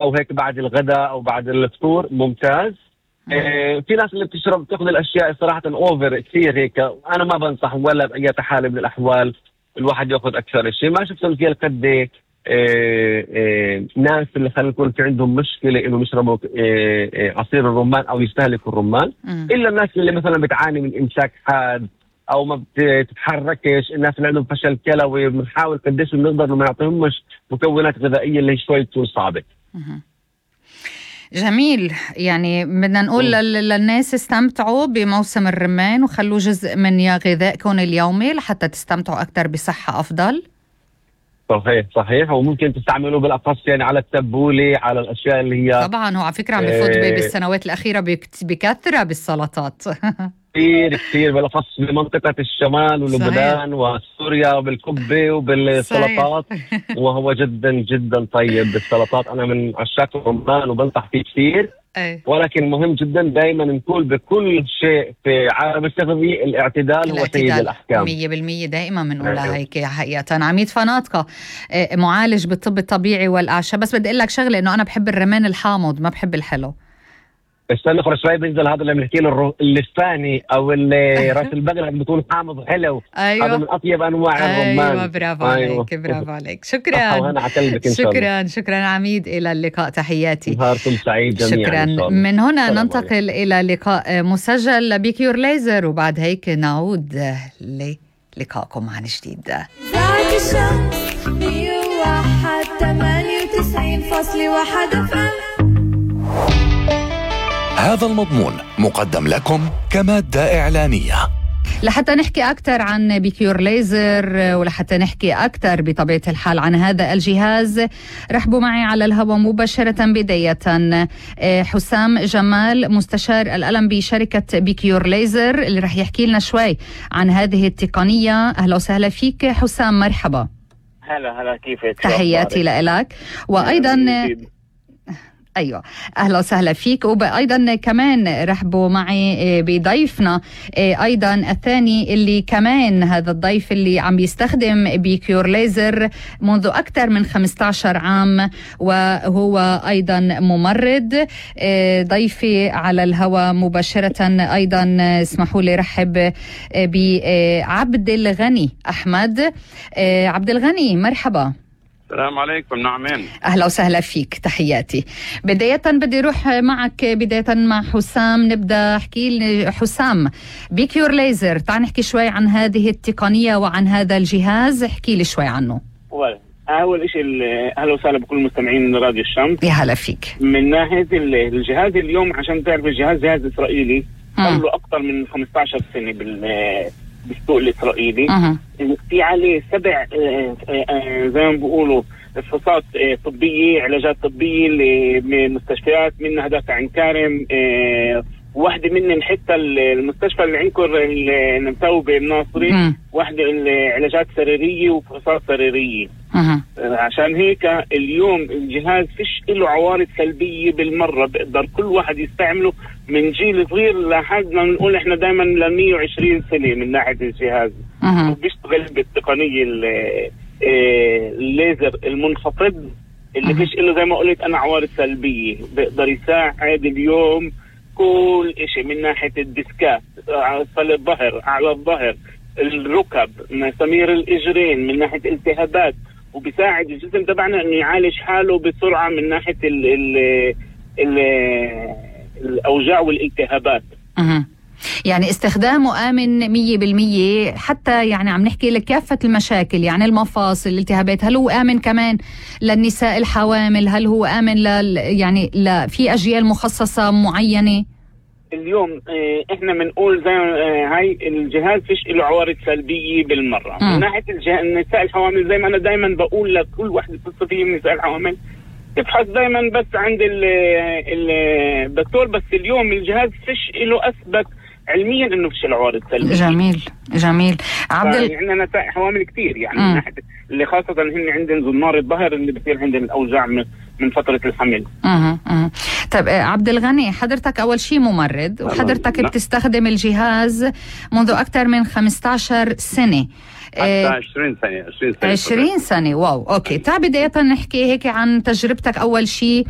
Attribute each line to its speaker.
Speaker 1: او هيك بعد الغداء او بعد الفطور ممتاز. في ناس اللي بتاخذ الاشياء صراحه اوفر كثير هيك، انا ما بنصح ولا باي حال من الاحوال الواحد ياخذ اكثر شيء. ما شفت فيها القد ناس اللي خلينا نقول في عندهم مشكله انه يشربوا عصير الرمان او يستهلكوا الرمان، الا الناس اللي مثلا بتعاني من امساك حاد او ما بتتحركش، الناس اللي عندهم فشل كلوي بنحاول قديش بنقدر انه ما نعطيهمش مكونات غذائيه اللي شوي تكون صعبه.
Speaker 2: جميل. يعني بدنا نقول للناس استمتعوا بموسم الرمان وخلوا جزء من غذائكم اليومي لحتى تستمتعوا أكثر بصحة أفضل.
Speaker 1: صحيح وممكن تستعملوه بالأخص يعني على التبولة، على الأشياء اللي هي
Speaker 2: طبعا هو على فكرة عم بفوت بالسنوات الأخيرة بكثرة بالسلطات
Speaker 1: كثير بالأخص بمنطقة الشمال ولبنان وسوريا وبالكبة وبالسلطات وهو جدا جدا طيب بالسلطات. أنا من عشاق الرمان وبنصح فيه كثير. ولكن مهم جدا دائما نقول بكل شيء في عالم التغذية الاعتدال هو سيد الأحكام.
Speaker 2: 100% دائما بنقولها هيك حقيقة. عميد فناطقة معالج بالطب الطبيعي والأعشاب، بس بدي أقول لك شغلة إنه أنا بحب الرمان الحامض ما بحب الحلو.
Speaker 1: استنى خلص شوي بينزل هذا اللي بنحكي له اللساني او اللي راس البقره بتكون حامض حلو.
Speaker 2: أيوة.
Speaker 1: هذا من اطيب انواع الرمان.
Speaker 2: ايوه برافو عليك برافو عليك. شكرا عميد، الى اللقاء، تحياتي.
Speaker 1: نهاركم سعيد جميعا.
Speaker 2: شكرا. من هنا ننتقل الى لقاء مسجل بكيور ليزر وبعد هيك نعود للقائكم عن جديد.
Speaker 3: ذاك الشمس 101.98.1
Speaker 4: هذا المضمون مقدم لكم كمادة إعلانية.
Speaker 2: لحتى نحكي أكثر عن بكيور ليزر ولحتى نحكي أكثر بطبيعة الحال عن هذا الجهاز، رحبوا معي على الهواء مباشرة بداية حسام جمال مستشار الألم بشركة بكيور ليزر اللي رح يحكي لنا شوي عن هذه التقنية. أهلا وسهلا فيك حسام، مرحبا.
Speaker 5: هلا كيفك؟
Speaker 2: تحياتي لك. وأيضا أيوة أهلا وسهلا فيك. وأيضا كمان رحبوا معي بضيفنا أيضا الثاني اللي كمان هذا الضيف اللي عم بيستخدم بكيور ليزر منذ أكثر من 15 عام وهو أيضا ممرض. ضيفي على الهواء مباشرة أيضا اسمحوا لي رحب بعبد الغني أحمد. عبد الغني مرحبا.
Speaker 5: السلام عليكم. نعمين.
Speaker 2: أهلا وسهلا فيك، تحياتي. بداية بدي أروح معك بداية مع حسام. نبدأ احكي لي حسام بكيور ليزر، تعال نحكي شوي عن هذه التقنية وعن هذا الجهاز، احكي لي شوي عنه.
Speaker 5: أول شيء أهلا وسهلا بكل المستمعين راديو الشمس.
Speaker 2: يا هلا فيك.
Speaker 5: من ناحية الجهاز اليوم عشان تعرف الجهاز جهاز إسرائيلي له أكثر من 15 سنة بالسوق الإسرائيلي. في عليه 7 زي ما بيقولوا فحوصات طبية، علاجات طبية لمستشفيات، منها دافع عين كارم، واحدة منهم حتى المستشفى اللي عندكم المتوبة الناصري، واحدة علاجات سريرية وفحوصات سريرية. عشان هيك اليوم الجهاز فيش له عوارض سلبية بالمرة، بقدر كل واحد يستعمله من جيل صغير لحد ما نقول احنا دائما ل 120 سنة من ناحية الجهاز. وبيشتغل بالتقنية الليزر المنخفض اللي فيش له زي ما قلت انا عوارض سلبية، بقدر يساعد اليوم كل اشي من ناحية الديسكات، اسفل الظهر، اعلى الظهر، الركب، مسامير الاجرين، من ناحية التهابات، وبيساعد الجسم تبعنا انه يعالج حاله بسرعة من ناحية الاوجاع والالتهابات.
Speaker 2: يعني استخدامه آمن 100%، حتى يعني عم نحكي لكافة المشاكل، يعني المفاصل، الالتهابات. هل هو آمن كمان للنساء الحوامل؟ هل هو آمن يعني في أجيال مخصصة معينة؟
Speaker 5: اليوم احنا بنقول زي هاي الجهاز فيش له عوارض سلبية بالمرة. من ناحية النساء الحوامل زي ما انا دايما بقول لكل واحد بتصل فيه من النساء الحوامل تبحث دايما بس عند الدكتور. بس اليوم الجهاز فيش له اثبت علميا انه فيش العوارض سلبية.
Speaker 2: جميل عبد
Speaker 5: عندنا نساء حوامل كثير يعني من ناحية اللي خاصة هن عندهم زنار الظهر اللي بصير عندهم الاوجاع من فتره الحمل.
Speaker 2: طيب عبد الغني، حضرتك اول شيء ممرض وحضرتك بتستخدم الجهاز منذ اكثر من 15 سنه.
Speaker 6: حتى 20 سنه
Speaker 2: 20 سنه. واو، اوكي. تعال بدايه نحكي هيك عن تجربتك اول شيء